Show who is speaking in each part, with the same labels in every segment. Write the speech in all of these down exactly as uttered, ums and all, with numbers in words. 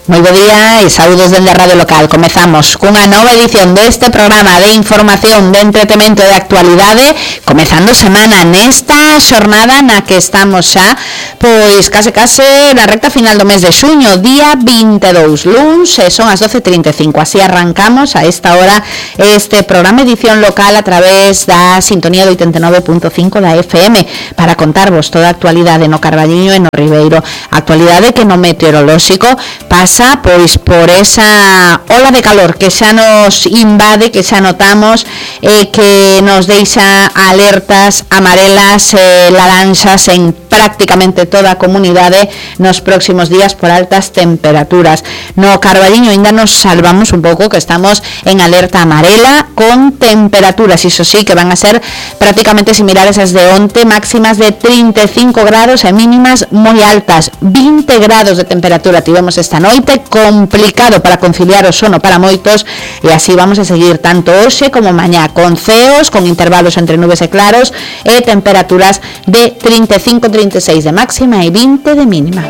Speaker 1: Moi bo día e saúdos dende a Radio Local. Comezamos cunha nova edición deste programa de información, de entretemento e de actualidade, comezando semana nesta xornada na que estamos xa, pois case case na recta final do mes de xuño, día vinte e dous, luns, e son as doce e trinta e cinco. Así arrancamos a esta hora este programa edición local a través da sintonía do oitenta e nove punto cinco da F M para contarvos toda a actualidade no Carballiño e no Ribeiro. Actualidade que no meteorolóxico pasa pois por esa ola de calor que xa nos invade, que xa notamos, eh, que nos deixa alertas amarelas e eh, laranxas en prácticamente toda a comunidade nos próximos días por altas temperaturas. No Carballiño ainda nos salvamos un pouco, que estamos en alerta amarela con temperaturas, iso sí, que van a ser prácticamente similares ás de onte, máximas de trinta e cinco grados e mínimas moi altas, vinte grados de temperatura tivemos esta noite, complicado para conciliar o sono para moitos, e así vamos a seguir tanto hoxe como mañá, con ceos, con intervalos entre nubes e claros e temperaturas de trinta e cinco a trinta e seis de máxima e vinte de mínima.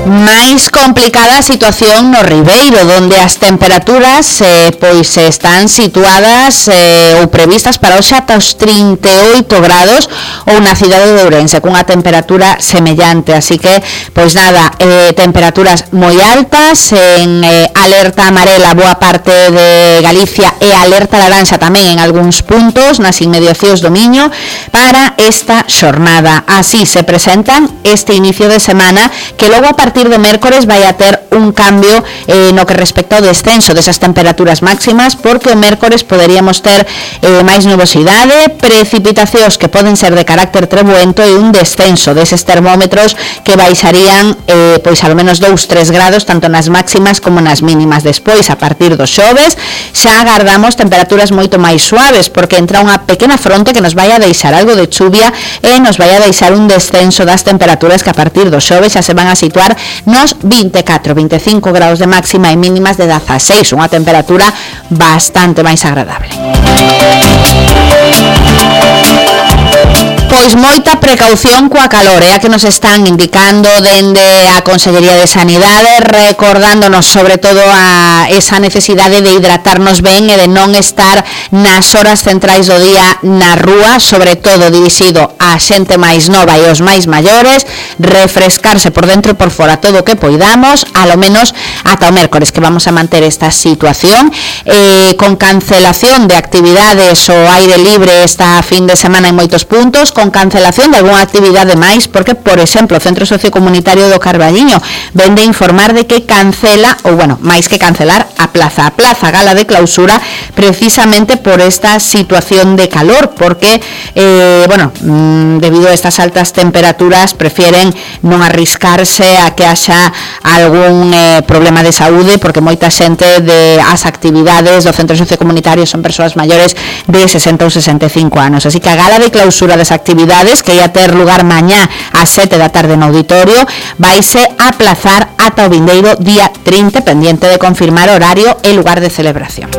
Speaker 1: Mais complicada a situación no Ribeiro, donde as temperaturas eh, pois están situadas eh, ou previstas para hoxe ata os trinta e oito grados, ou na cidade de Ourense cunha temperatura semellante, así que pois nada, eh, temperaturas moi altas, en eh, alerta amarela boa parte de Galicia e alerta laranxa tamén en algúns puntos nas inmediacións do Miño para esta xornada. Así se presentan este inicio de semana, que logo a partir do mércores vai a ter un cambio eh, no que respecta ao descenso desas temperaturas máximas, porque o mércores poderíamos ter eh, máis nubosidade, precipitacións que poden ser de carácter trebuento e un descenso deses termómetros que baixarían eh, pois ao menos dous a tres grados tanto nas máximas como nas mínimas. Despois, a partir do xoves, xa agardamos temperaturas moito máis suaves, porque entra unha pequena fronte que nos vai a deixar algo de chuvia e nos vai a deixar un descenso das temperaturas que a partir do xoves xa se van a situar nos vinte e catro a vinte e cinco grados de máxima e mínimas de dezaseis, unha temperatura bastante máis agradable. Pois moita precaución coa calor, é a que nos están indicando dende a Consellería de Sanidade, recordándonos sobre todo a esa necesidade de hidratarnos ben e de non estar nas horas centrais do día na rúa, sobre todo dirixido á xente máis nova e aos máis maiores, refrescarse por dentro e por fora todo o que poidamos, alo menos ata o mércores, que vamos a manter esta situación, eh, con cancelación de actividades ao aire libre esta fin de semana en moitos puntos, con cancelación de algunha actividade máis, porque, por exemplo, o Centro Sociocomunitario do Carballiño ven de informar de que cancela, ou bueno, máis que cancelar, a plaza, a plaza gala de clausura, precisamente por esta situación de calor, porque, eh, bueno, mmm, debido a estas altas temperaturas, prefieren non arriscarse a que haxa algún eh, problema de saúde, porque moita xente de as actividades do Centro Sociocomunitario son persoas maiores de sesenta ou sesenta e cinco anos, así que a gala de clausura desa actividades, que ia ter lugar mañá ás sete da tarde no auditorio, vaise aplazar ata o vindeiro día trinta, pendiente de confirmar horario e lugar de celebración.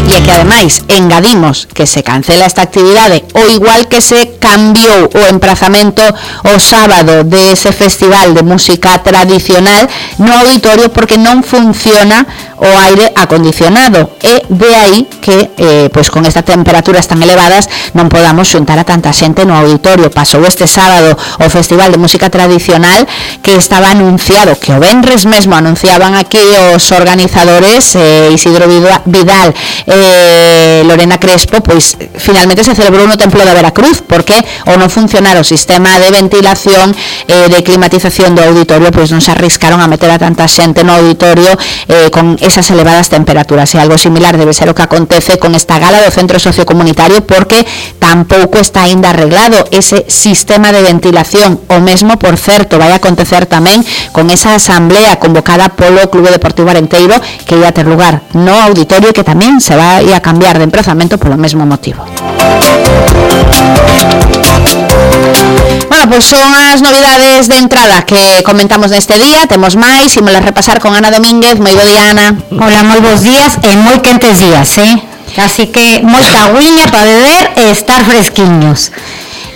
Speaker 1: E é que ademais engadimos que se cancela esta actividade, o igual que se cambiou o emprazamento o sábado de ese festival de música tradicional no auditorio, porque non funciona o aire acondicionado, e de aí que eh, pois con estas temperaturas tan elevadas non podamos xuntar a tanta xente no auditorio. Pasou este sábado o festival de música tradicional, que estaba anunciado, que o venres mesmo anunciaban aquí os organizadores, eh, Isidro Vidal eh, Lorena Crespo, pois finalmente se celebrou no Templo da Veracruz, porque ao non funcionar o sistema de ventilación eh, de climatización do auditorio, pois non se arriscaron a meter a tanta xente no auditorio eh, con esas elevadas temperaturas, e algo similar debe ser o que acontece con esta gala do Centro Sociocomunitario, porque tampouco está aínda arreglado ese sistema de ventilación. O mesmo, por certo, vai acontecer tamén con esa asamblea convocada polo Clube Deportivo Arenteiro, que ia ter lugar no auditorio, que tamén se vai a cambiar de emprazamento polo mesmo motivo. Bueno, pois son as novidades de entrada que comentamos neste día. Temos máis, imos a repasar con Ana Domínguez. Moi bo día, Ana.
Speaker 2: Hola, moi bons días e moi quentes días, eh? Así que moita agüiña para beber e estar fresquiños.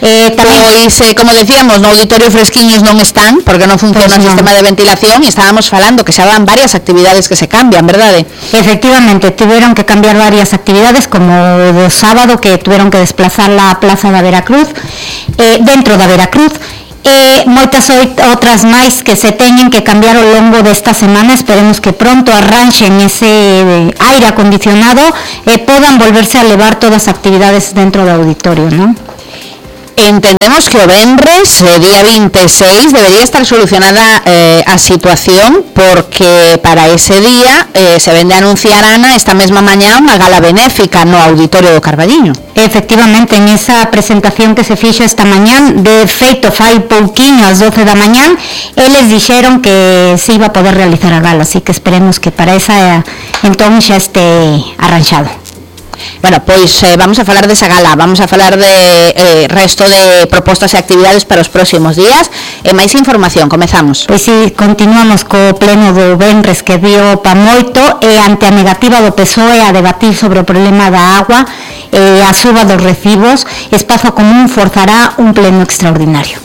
Speaker 1: Eh, tamén, pois, eh, como decíamos, no auditorio fresquiños non están, porque non funciona pues o sistema no. de ventilación, e estábamos falando que xa van varias actividades que se cambian, verdade?
Speaker 2: Efectivamente, tuvieron que cambiar varias actividades, como o sábado que tuvieron que desplazar la plaza da Veracruz, eh, dentro da Veracruz, e moitas outras máis que se teñen que cambiar ao longo desta semana. Esperemos que pronto arranxen ese aire acondicionado e podan volverse a levar todas as actividades dentro do auditorio, non?
Speaker 1: Entendemos que o venres, eh, día vinte e seis, debería estar solucionada eh, a situación, porque para ese día eh, se vende a anunciar, Ana, esta mesma mañá unha gala benéfica no auditorio do Carballiño.
Speaker 2: Efectivamente, en esa presentación que se fixo esta mañán, de feito fai pouquiño ás doce da mañán, eles dixeron que se iba a poder realizar a gala, así que esperemos que para esa entón xa este arranxado.
Speaker 1: Bueno, pois eh, vamos a falar desa gala, vamos a falar de eh, resto de propostas e actividades para os próximos días e máis información, comezamos.
Speaker 2: Pois si, continuamos co pleno do venres que dio pa moito e ante a negativa do P S O E a debatir sobre o problema da agua e a suba dos recibos, Espazo Común forzará un pleno extraordinario.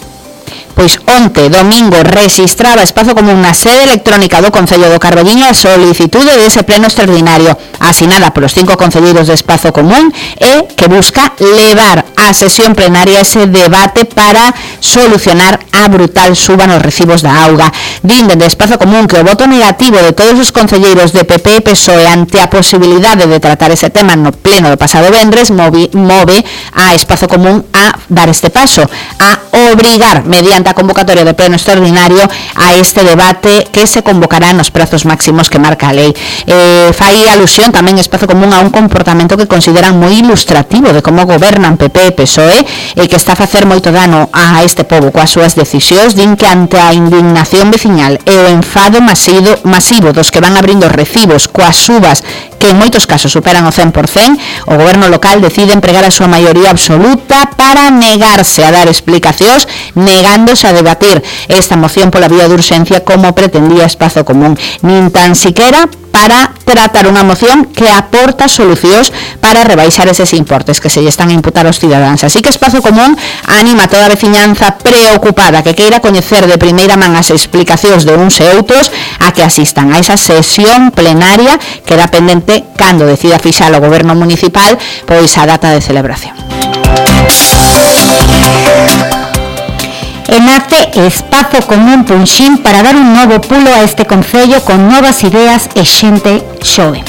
Speaker 1: Pois onte, domingo, rexistraba Espazo Común na sede electrónica do Concello do Carballiño a solicitude dese pleno extraordinario asinada polos cinco concelleiros de Espazo Común e que busca levar á sesión plenaria ese debate para solucionar a brutal suba nos recibos da auga. Din dende Espazo Común que o voto negativo de todos os concelleiros de P P e P S O E ante a posibilidade de tratar ese tema no pleno do pasado vendres move, move a Espazo Común a dar este paso, a obrigar mediante a convocatoria de pleno extraordinario a este debate que se convocará nos prazos máximos que marca a lei. Eh, fai alusión tamén Espazo Común a un comportamento que consideran moi ilustrativo de como gobernan P P e P S O E e que está a facer moito dano a este pobo coas súas decisións. Din que ante a indignación veciñal e o enfado masivo, masivo dos que van abrindo recibos coas subas que en moitos casos superan o cen por cen, o goberno local decide empregar a súa maioría absoluta para negarse a dar explicacións, negándose a debatir esta moción pola vía de urxencia como pretendía Espazo Común, nin tan siquera para tratar unha moción que aporta solucións para rebaixar eses importes que se lle están a imputar aos cidadáns. Así que Espazo Común anima a toda a veciñanza preocupada que queira coñecer de primeira man as explicacións de uns e outros a que asistan a esa sesión plenaria que dá pendente cando decida fixar o goberno municipal pois a data de celebración.
Speaker 2: E nace Espazo Común Punxín para dar un novo pulo a este concello con novas ideas e xente xove.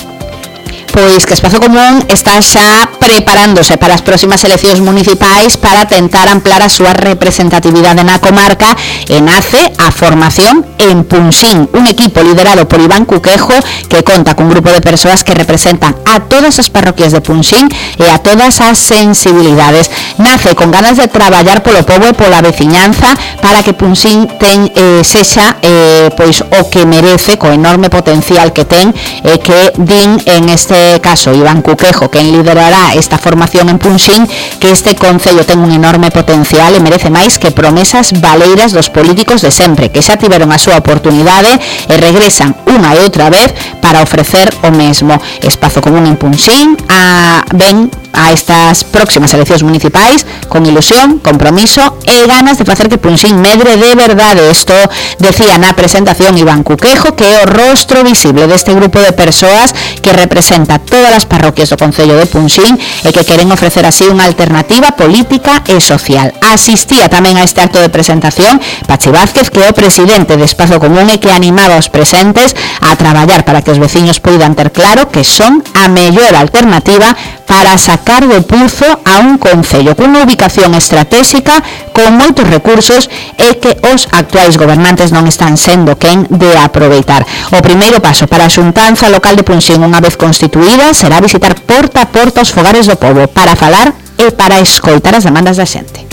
Speaker 1: Pois que Espazo Común está xa preparándose para as próximas eleccións municipais para tentar ampliar a súa representatividade na comarca e nace a formación en Punxín, un equipo liderado por Iván Cuquejo que conta cun grupo de persoas que representan a todas as parroquias de Punxín e a todas as sensibilidades. Nace con ganas de traballar polo pobo e pola veciñanza para que Punxín ten, eh, sexa eh, pois o que merece, co enorme potencial que ten e eh, que din en este caso Iván Cuquejo, quen liderará esta formación en Punxín, que este concello ten un enorme potencial e merece máis que promesas baleiras dos políticos de sempre, que xa tiveron a súa oportunidade e regresan unha e outra vez para ofrecer o mesmo. Espazo Común en Punxín a, ven a estas próximas eleccións municipais con ilusión, compromiso e ganas de facer que Punxín medre de verdade. Isto decía na presentación Iván Cuquejo, que é o rostro visible deste grupo de persoas que representa todas as parroquias do concello de Punxín e que queren ofrecer así unha alternativa política e social. Asistía tamén a este acto de presentación Pachi Vázquez, que é o presidente de Espazo Común e que animaba os presentes a traballar para que os veciños poidan ter claro que son a mellor alternativa para sacar do puzo a un concello cunha ubicación estratégica con moitos recursos e que os actuais gobernantes non están sendo quen de aproveitar. O primeiro paso para a xuntanza local de Punxín, unha vez constituída, será visitar porta a porta os fogares do pobo para falar e para escoitar as demandas da xente.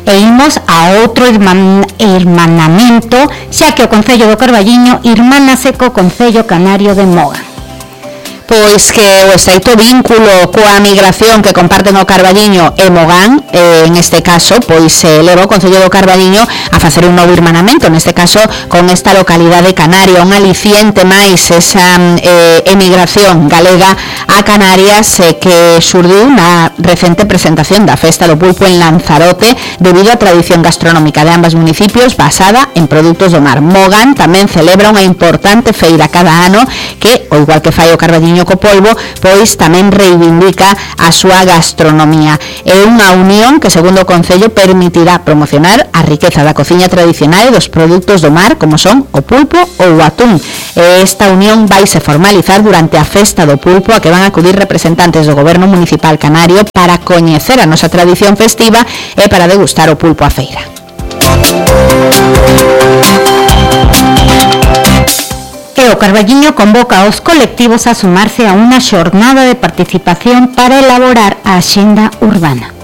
Speaker 2: E imos a outro irman, irmanamento, xa que o Concello do Carballiño irmánase co Concello Canario de Moga.
Speaker 1: Pois que o estreito vínculo coa migración que comparten o Carballiño e Mogán, eh, en este caso, pois se eh, leva o Concello do Carballiño a facer un novo irmanamento, neste caso con esta localidade canaria, un aliciente máis esa eh, emigración galega a Canarias eh, que xurdiu na recente presentación da Festa do Pulpo en Lanzarote debido á tradición gastronómica de ambos municipios basada en produtos do mar. Mogán tamén celebra unha importante feira cada ano que, ao igual que fai o Carballiño co polvo, pois tamén reivindica a súa gastronomía. É unha unión que, segundo o Concello, permitirá promocionar a riqueza da cociña tradicional e dos produtos do mar, como son o pulpo ou o atún. Esta unión vaise formalizar durante a Festa do Pulpo, a que van a acudir representantes do Goberno Municipal Canario para coñecer a nosa tradición festiva e para degustar o pulpo á feira.
Speaker 2: E o Carballiño convoca aos colectivos a sumarse a unha xornada de participación para elaborar a axenda urbana.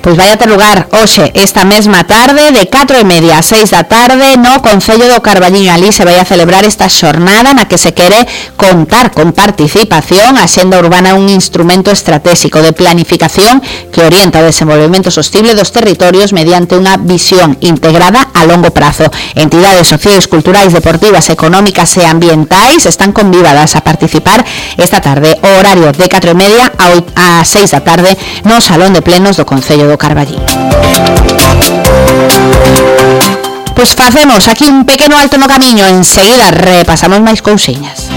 Speaker 1: Pois vai a ter lugar hoxe, esta mesma tarde, de catro e media a seis da tarde, no Concello do Carballiño. Ali se vai a celebrar esta xornada na que se quere contar con participación. A xenda urbana é un instrumento estratégico de planificación que orienta o desenvolvemento sostible dos territorios mediante unha visión integrada a longo prazo. Entidades sociais, culturais, deportivas, económicas e ambientais están convidadas a participar esta tarde, o horario de catro e media a seis da tarde, no Salón de Plenos do Concello do Carballiño. Pois facemos aquí un pequeno alto no camiño, enseguida repasamos máis cousiñas.